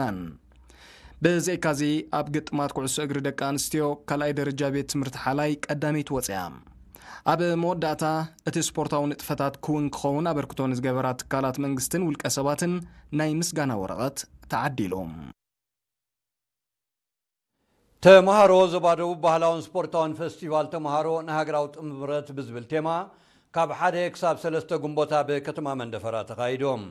ናን። ብዘይካዚ ኣብ ግጥማት ኩዕሶ እግሪ ደቂ ኣንስትዮ ካልኣይ ደረጃ ቤት ትምህርቲ ሓላይ ቀዳመይቲ ወፅያ። ኣብ መወዳእታ እቲ ስፖርታዊ ንጥፈታት ክውን ክኸውን ኣበርክቶ ንዝገበራ ትካላት መንግስትን ውልቀ ሰባትን ናይ ምስጋና ወረቐት ተዓዲሉ። ተምሃሮ ዞባ ደቡብ ባህላውን ስፖርታውን ፈስቲቫል ተምሃሮ ንሃገራዊ ጥምረት ብዝብል ቴማ ካብ ሓደ ክሳብ ሰለስተ ግንቦት ኣብ ከተማ መንደፈራ ተኻይዶም።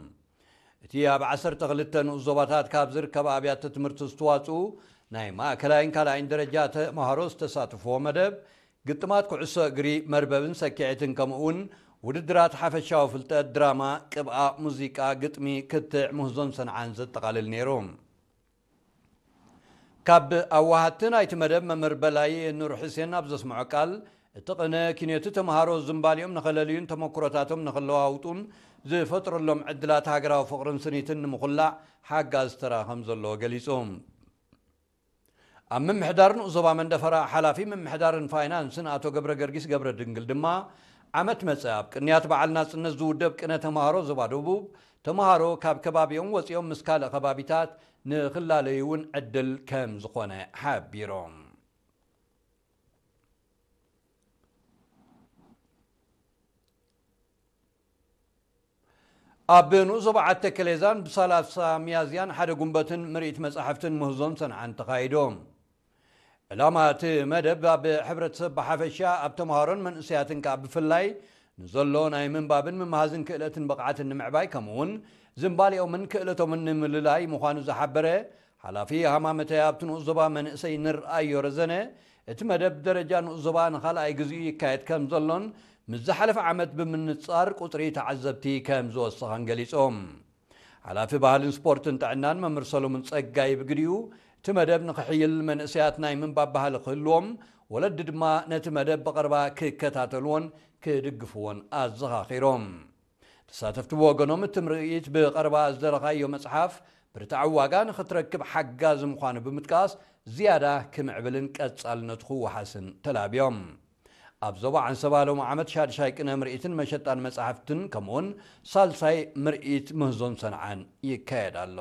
እቲ ኣብ ዓሰርተ ክልተ ንኡስ ዞባታት ካብ ዝርከባ ኣብያተ ትምህርቲ ዝተዋፅኡ ናይ ማእከላይን ካልኣይን ደረጃ ተምሃሮ ዝተሳትፍዎ መደብ ግጥማት ኩዕሶ እግሪ፣ መርበብን ሰኪዔትን ከምኡ እውን ውድድራት ሓፈሻዊ ፍልጠት፣ ድራማ፣ ቅብኣ፣ ሙዚቃ፣ ግጥሚ፣ ክትዕ፣ ምህዞን ሰንዓን ዘጠቓልል ነይሩ። ካብ ኣዋሃድቲ ናይቲ መደብ መምህር በላይ ኑር ሕሴን ኣብ ዘስምዖ ቃል፣ እቲ ቅነ ኪነቱ ተምሃሮ ዝንባሊኦም ንኸለልዩን ተመኩሮታቶም ንኽለዋውጡን ዝፈጥረሎም ዕድላት ሃገራዊ ፍቕርን ስኒትን ንምኹላዕ ሓጋዚ ተራ ከም ዘለዎ ገሊጹ። ኣብ ምምሕዳር ንኡስ ዞባ መንደፈራ ሓላፊ ምምሕዳርን ፋይናንስን ኣቶ ገብረ ገርጊስ ገብረ ድንግል ድማ፣ ዓመት መጸ ኣብ ቅንያት በዓል ናጽነት ዝውደብ ቅነ ተምሃሮ ዞባ ደቡብ፣ ተምሃሮ ካብ ከባቢኦም ወጺኦም ምስ ካልእ ከባቢታት ንኽላለዩ እውን ዕድል ከም ዝኾነ ሓቢሮም። ኣብ ንኡስ ዞባ ዓዲ ተከሌዛን ብሰላሳ ሚያዝያን ሓደ ጉንበትን ምርኢት መጻሕፍትን ምህዞን ሰንዓን ተኻይዶም። ዕላማ እቲ መደብ ኣብ ሕብረተሰብ ብሓፈሻ፣ ኣብ ተምሃሮን መንእሰያትን ከኣ ብፍላይ ንዘሎ ናይ ምንባብን ምምሃዝን ክእለትን ብቕዓትን ንምዕባይ፣ ከምኡውን ዝንባሌኦምን ክእለቶምን ንምልላይ ምዃኑ ዝሓበረ ሓላፊ ሃማመተ ኣብቲ ንኡስ ዞባ መንእሰይ ንርኣዮ ረዘነ፣ እቲ መደብ ደረጃ ንኡስ ዞባ ንኻልኣይ ግዜኡ ይካየድ ከም ዘሎን ምስ ዝሓለፈ ዓመት ብምንጻር ቁጽሪ ተዓዘብቲ ከም ዝወሰኸን ገሊጾም። ሓላፊ ባህልን ስፖርትን ጥዕናን መምህር ሰሎሙን ጸጋይ ብግዲኡ፣ እቲ መደብ ንኽሕይል መንእሰያት ናይ ምንባብ ባህሊ ክህልዎም፣ ወለዲ ድማ ነቲ መደብ ብቐረባ ክከታተልዎን ክድግፍዎን ኣዘኻኺሮም። ተሳተፍቲ ብወገኖም፣ እቲ ምርኢት ብቐረባ ዝደረኻዮ መጽሓፍ ብርትዓዊ ዋጋ ንኽትረክብ ሓጋዚ ምዃኑ ብምጥቃስ፣ ዝያዳ ክምዕብልን ቀጻልነቱ ክወሓስን ተላብዮም። ኣብ ዞባ ዓንሰባ ሎሚ ዓመት ሻድሻይ ቅነ ምርኢትን መሸጣን መጻሕፍትን ከምኡውን ሳልሳይ ምርኢት ምህዞን ሰንዓን ይካየድ ኣሎ።